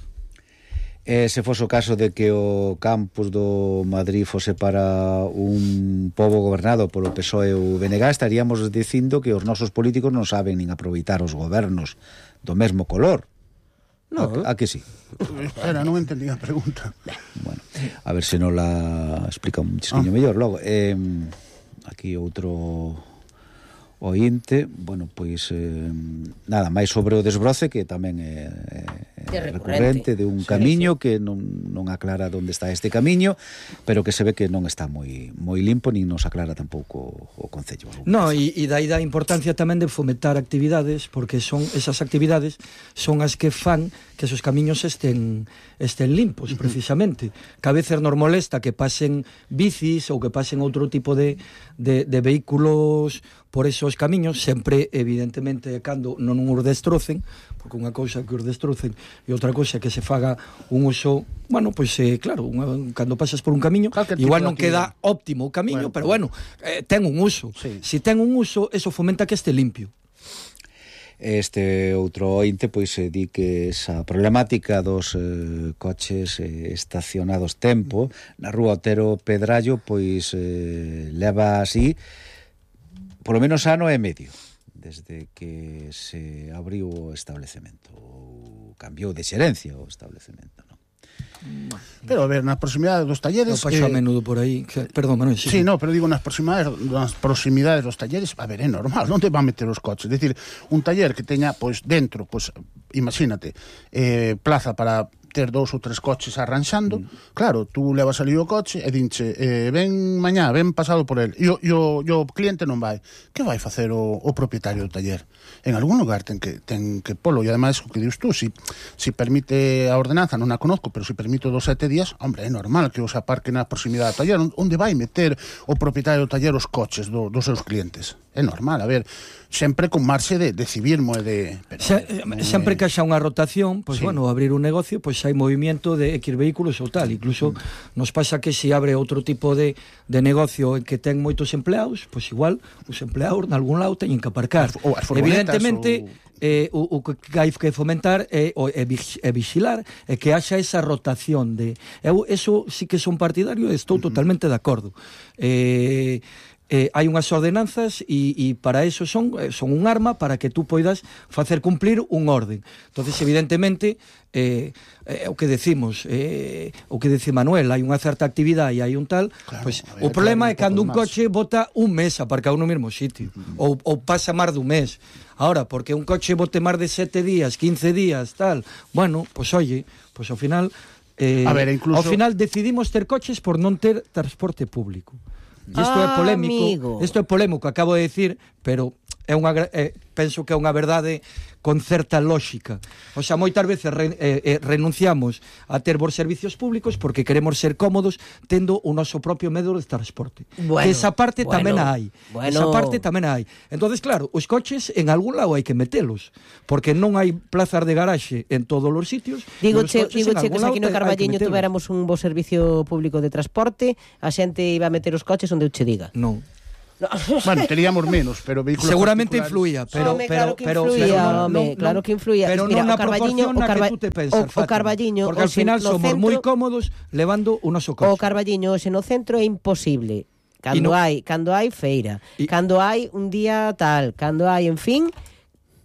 Se fose o caso de que o campus do Madrid fose para un pobo gobernado polo PSOE ou BNG, estaríamos dicindo que os nosos políticos non saben nin aproveitar os gobernos do mesmo color. No. A que sí? Espera, non entendí a pregunta. Bueno, a ver se non la explica un chisquiño mellor logo. Aquí outro ointe, bueno, pois nada máis sobre o desbroce, que tamén é recurrente de un camiño que non aclara onde está este camiño, pero que se ve que non está moi limpo, nin nos aclara tampouco o Concello. No, e dai da importancia tamén de fomentar actividades, porque son esas actividades son as que fan que esos camiños estén limpos, precisamente. Que a veces nos molesta que pasen bicis ou que pasen outro tipo de vehículos por esos camiños, sempre, evidentemente, cando non os destrocen, porque unha cousa que os destrocen e outra cousa que se faga un uso, bueno, pois, claro, cando pasas por un camiño, igual non queda óptimo o camiño, pero bueno, ten un uso. Si ten un uso, eso fomenta que este limpio. Este outro ointe pois di que esa problemática dos coches estacionados tempo na rúa Otero Pedrallo pois leva así polo menos ano e medio desde que se abriu o establecemento ou cambiou de xerencia o establecemento, non? Pero a ver, nas proximidades dos talleres... Eu paso a menudo por aí, perdón, Manuel. Sí, no, pero digo, nas proximidades dos talleres, a ver, é normal, non te van meter os coches. É dicir, un taller que teña, pois, dentro, pois, imagínate, plaza para ter 2 ou 3 coches arranxando, claro, tú levas ali o coche e dinche, ven mañá, ven pasado por el, e o cliente non vai. Que vai facer o propietario do taller? En algún lugar ten que polo, e ademais, o que dius tú, si permite a ordenanza, non a conozco, pero si permite dos 7 días, hombre, é normal que os aparque na proximidade do taller. Onde vai meter o propietario do taller os coches dos seus clientes? É normal, a ver, sempre con marxe de civismo e de... Sempre que haxa unha rotación, pois, bueno, abrir un negocio, pois hai movimiento de X vehículos ou tal. Incluso nos pasa que se abre outro tipo de negocio en que ten moitos empleados, pois igual os empleados nalgún lado teñen que aparcar. Evidentemente, o que hai que fomentar é vixilar e que haxa esa rotación de... Eso sí que son partidario, estou totalmente de acordo. Hai unhas ordenanzas e para eso son un arma para que tú poidas facer cumplir un orden. Entonces, evidentemente, o que decimos, o que dice Manuel, hai unha certa actividade e hai un tal, claro, pues, o problema é cando un coche bota un mes aparcado no mesmo sitio, ou pasa máis dun mes. Ahora, porque un coche bote máis de 7 días, 15 días, tal, bueno, pues oye, pues ao final incluso... ao final decidimos ter coches por non ter transporte público. E isto é polémico, isto é polémico, acabo de decir, pero penso que é unha verdade con certa lógica. O sea, moitas veces renunciamos a ter bons servicios públicos porque queremos ser cómodos tendo o noso propio medio de transporte. Bueno, esa parte tamén hai. Esa parte tamén hai. Entonces, claro, os coches en algún lado hai que metelos, porque non hai plazas de garaxe en todos os sitios. Digoche que se aquí no Carballiño tuveramos un bo servicio público de transporte, a xente iba a meter os coches onde eu che diga. Non. Bueno, teríamos menos, pero vehículos seguramente influía, pero claro que influía. Pero non na proporción na que tú te pensas, o Carballiño, porque ao final somos moi cómodos levando o noso coche. O Carballiño hoxe no centro é imposible cando hai feira, cando hai un día tal, cando hai, en fin,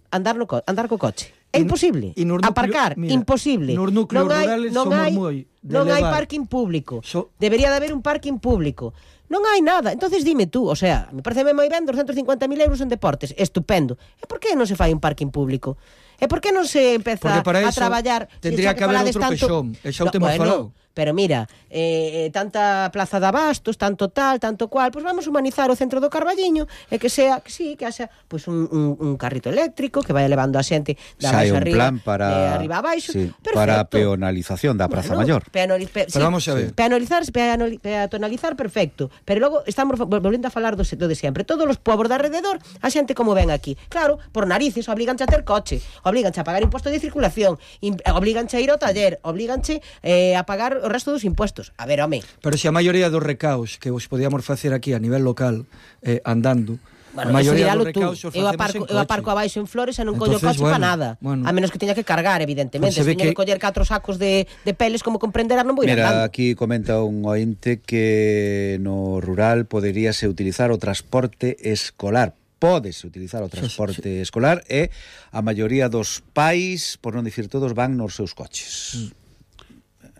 andar co coche. É imposible. Aparcar, imposible. Nos núcleos rurales somos moi non hai parking público. Debería de haber un parking público. Non hai nada. Entonces dime tú, o sea, me parece moi ben 250.000 euros en deportes, estupendo. E por que non se fai un parking público? E por que non se empeza a traballar? Tendría que haber outro pexón. E xa o temos falado. Pero mira, tanta plaza de abastos, tanto tal, tanto cual, pois vamos humanizar o centro do Carballiño e que sea, que sí, que haxa pois un carrito eléctrico que vai levando a xente da baixo arriba, arriba a baixo, sí, para a peonalización da Praza Maior. Pero vamos a ver. Peatonalizar, perfecto. Pero logo estamos volvendo a falar do de sempre. Todos os pobos de alrededor, a xente como ven aquí. Claro, por narices, obliganche a ter coche, obliganche a pagar imposto de circulación, obliganche a ir ao taller, obliganche a pagar o resto dos impuestos. A ver, home. Pero se a maioría dos recaos que vos podíamos facer aquí a nivel local, andando, bueno, a maioría dos recaos o facemos en coche. Eu aparco abaixo en Flores e non collo coche para nada. Bueno. A menos que teña que cargar, evidentemente. Se teña que coller 4 sacos de peles, como comprenderán, non vou ir andando. Mira, aquí comenta un ointe que no rural poderíase utilizar o transporte escolar. Pódese utilizar o transporte escolar e a maioría dos pais, por non dicir todos, van nos seus coches.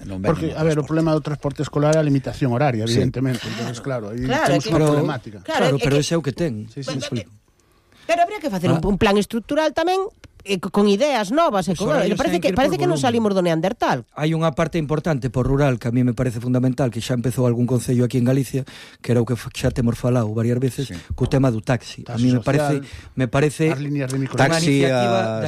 Porque, a ver, o problema do transporte escolar é a limitación horaria, evidentemente. Entonces, claro, aí temos unha problemática. Claro, pero ese é o que ten. Pero habría que facer un plan estructural tamén con ideas novas. Parece que non salimos do Neandertal. Hai unha parte importante por rural que a mí me parece fundamental, que xa empezou algún concello aquí en Galicia, que era o que xa temos falado varias veces, co tema do taxi. A mí me parece as líneas de taxi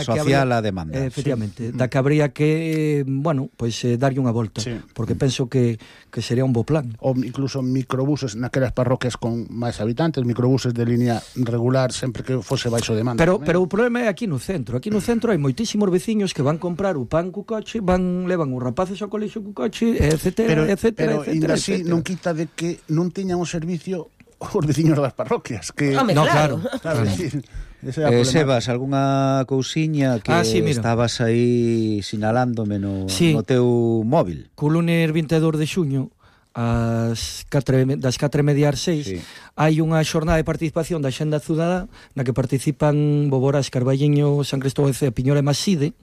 social a demanda. Efectivamente, da que habría que, bueno, pois darlle unha volta, porque penso que sería un bo plan. Ou incluso microbuses naquelas parroquias con máis habitantes, microbuses de línea regular sempre que fose baixo demanda. Pero o problema é aquí no centro. Aquí no centro hai moitísimos veciños que van comprar o pan co coche, levan os rapaces ao colexio co coche, etcétera. Pero ainda así non quita de que non tiñan o servicio os veciños das parroquias. Que... Claro. Sebas, algunha cousiña que estabas aí sinalándome no teu móvil? Co lunes 22 de xuño das 4:30 ás 6 hai unha xornada de participación da Xenda Cidadá na que participan Boborás, Carballiño, San Cristóbal e Piñor e Maside,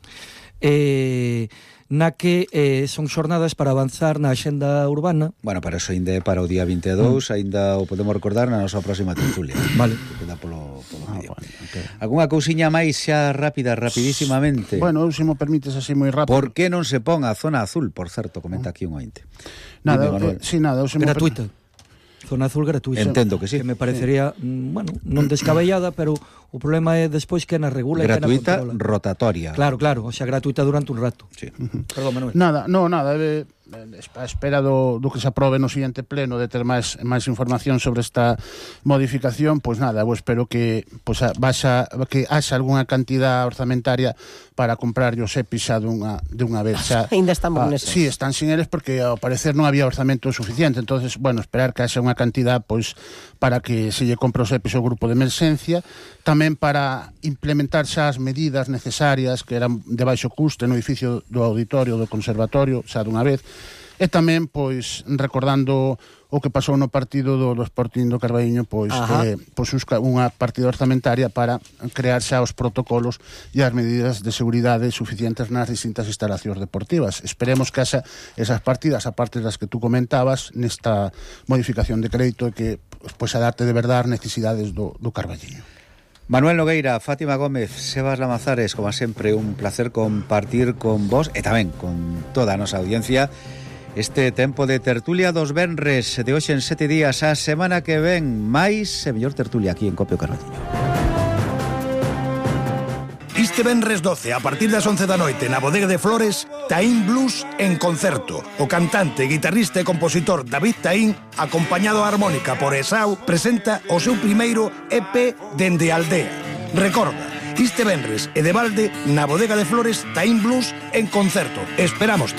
na que son xornadas para avanzar na axenda urbana. Bueno, para eso ainda é para o día 22, ainda o podemos recordar na nosa próxima tertulia. Vale. Que queda polo medio. Okay. Algúnha cousiña máis xa rápida, rapidísimamente? Bueno, se mo permites así moi rápido. Por que non se pon a zona azul, por certo, comenta aquí un ointe? Nada, gratuita. Zona azul gratuita. Entendo que sí. Que me parecería, bueno, non descabellada, pero o problema é despois que na regula gratuita, e que na rotatoria. Claro, o sea, gratuita durante un rato. Sí. Perdón, Manuel. Nada, a espera do que se aprobe no siguiente pleno de ter máis información sobre esta modificación, pois nada, eu espero que que haxa algunha cantidad orzamentaria para comprar os EPIs xa dunha vez. Ainda estamos neses. Sí, están sin eles porque ao parecer non había orzamento suficiente, entonces, bueno, esperar que haxa unha cantidad pois para que se lle compre os EPIs ao grupo de emerxencia, tamén para implementar xa as medidas necesarias que eran de baixo custe no edificio do auditorio do conservatorio, xa dunha vez. E tamén, pois, recordando o que pasou no partido do Sporting do Carballiño, pois unha partida orzamentaria para crear xa os protocolos e as medidas de seguridade suficientes nas distintas instalacións deportivas. Esperemos que haxa esas partidas, aparte das que tú comentabas, nesta modificación de crédito e que pois adapte de verdade as necesidades do Carballiño. Manuel Nogueira, Fátima Gómez, Sebas Lamazares, como sempre, un placer compartir con vos e tamén con toda a nosa audiencia este tempo de tertulia dos venres de hoxe en 7 días. A semana que ven máis e mellor tertulia aquí en Copio Carballiño. Este venres 12, a partir das 11 da noite, na Bodega de Flores, Taín Blues en concerto. O cantante, guitarrista e compositor David Taín, acompañado a armónica por Esau, presenta o seu primeiro EP Dende a Aldea. Recorda, este venres e de balde, na Bodega de Flores, Taín Blues en concerto. Esperámoste.